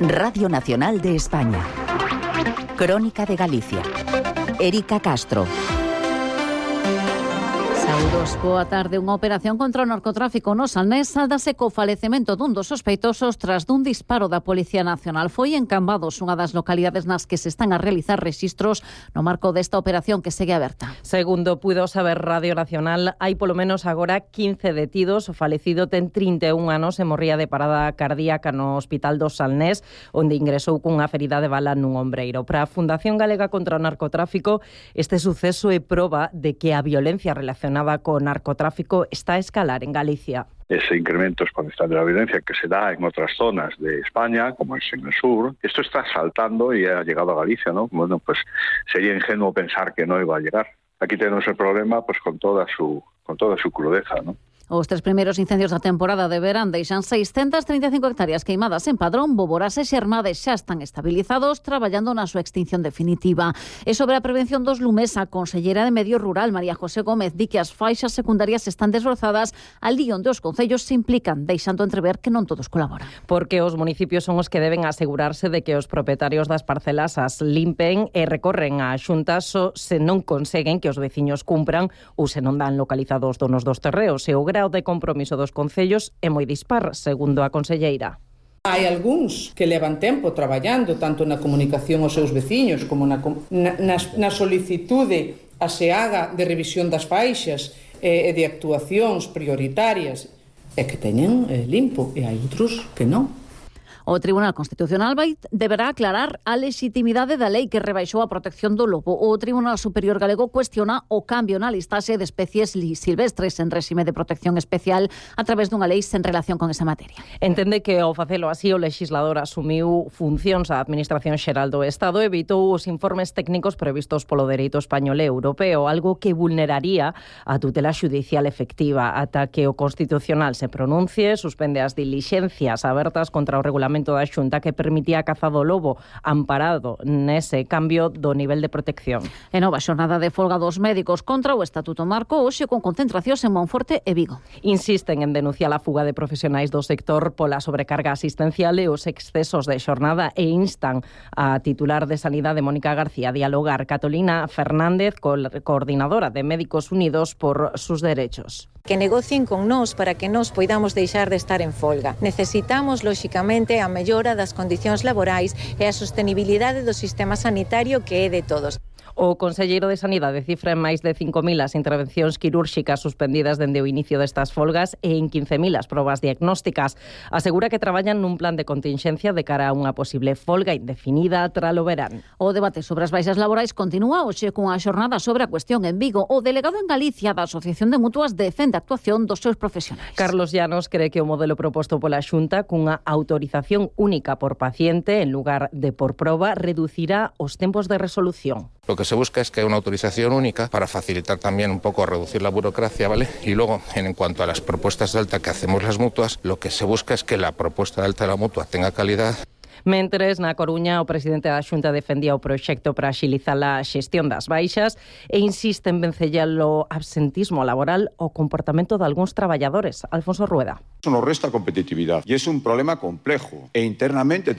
Radio Nacional de España. Crónica de Galicia. Erika Castro. Saúdos, boa tarde. Unha operación contra o narcotráfico no Salnés sáldase co falecemento dun dos sospeitosos tras dun disparo da Policía Nacional. Foi en Cambados, unha das localidades nas que se están a realizar rexistros no marco desta operación que segue aberta. Segundo puido saber Radio Nacional, hai polo menos agora 15 detidos. O falecido ten 31 anos e morría de parada cardíaca no Hospital do Salnés, onde ingresou cunha ferida de bala nun ombreiro. Para a Fundación Galega contra o Narcotráfico, este suceso é proba de que a violencia relacionada con narcotráfico está a escalar en Galicia. Ese incremento exponencial de la violencia que se da en otras zonas de España, como es en el sur, esto está saltando y ha llegado a Galicia, ¿no? Bueno, pues sería ingenuo pensar que no iba a llegar. Aquí tenemos el problema pues con toda su crudeza, ¿no? Os 3 primeiros incendios da temporada de verán deixan 635 hectáreas queimadas en Padrón. Boborás e Xermades xa están estabilizados, traballando na súa extinción definitiva. E sobre a prevención dos lumes, a conselleira de Medio Rural, María José Gómez, di que as faixas secundarias están desbrozadas ali onde os concellos se implican, deixando entrever que non todos colaboran. Porque os municipios son os que deben asegurarse de que os propietarios das parcelas as limpen e recorren a xuntas se non conseguen que os veciños cumpran ou se non dan localizados donos dos terreos. E o grao de compromiso dos concellos é moi dispar, segundo a conselleira. Hai algúns que levan tempo traballando tanto na comunicación aos seus veciños como na solicitude a SEAGA de revisión das faixas e de actuacións prioritarias e que teñen limpo, e hai outros que non. O Tribunal Constitucional deberá aclarar a lexitimidade da lei que rebaixou a protección do lobo. O Tribunal Superior Galego cuestiona o cambio na listaxe de especies silvestres en réxime de protección especial a través dunha lei sen relación con esa materia. Entende que ao facelo así o lexislador asumiu funcións á Administración Xeral do Estado e evitou os informes técnicos previstos polo dereito español e europeo, algo que vulneraría a tutela xudicial efectiva. Ata que o Constitucional se pronuncie, suspende as dilixencias abertas contra o regulamento da Xunta que permitía a caza do lobo, amparado nese cambio do nivel de protección. E nova xornada de folga dos médicos contra o Estatuto Marco, hoxe con concentracións en Monforte e Vigo. Insisten en denunciar a fuga de profesionais do sector pola sobrecarga asistencial e os excesos de xornada e instan a titular de Sanidade, Mónica García, a dialogar. Catalina Fernández, coordinadora de Médicos Unidos por sus derechos. Que negocien con nós para que nós poidamos deixar de estar en folga. Necesitamos, lóxicamente, a mellora das condicións laborais e a sostenibilidade do sistema sanitario que é de todos. O conselleiro de Sanidade cifra en máis de 5.000 as intervencións quirúrxicas suspendidas dende o inicio destas folgas e en 15.000 as probas diagnósticas. Asegura que traballan nun plan de continxencia de cara a unha posible folga indefinida tralo verán. O debate sobre as baixas laborais continúa hoxe cunha xornada sobre a cuestión en Vigo. O delegado en Galicia da Asociación de Mutuas defende a actuación dos seus profesionais. Carlos Llanos cree que o modelo proposto pola Xunta cunha autorización única por paciente en lugar de por proba reducirá os tempos de resolución. Lo que se busca es que haya una autorización única para facilitar también un poco reducir la burocracia, ¿vale? Y luego, en cuanto a las propuestas de alta que hacemos las mutuas, lo que se busca es que la propuesta de alta de la mutua tenga calidad. Mentres, na Coruña, o presidente da Xunta defendía o proxecto para axilizar a xestión das baixas e insiste en vencellar o absentismo laboral o comportamento de algúns traballadores. Alfonso Rueda. Eso nos resta competitividad y es un problema complejo e internamente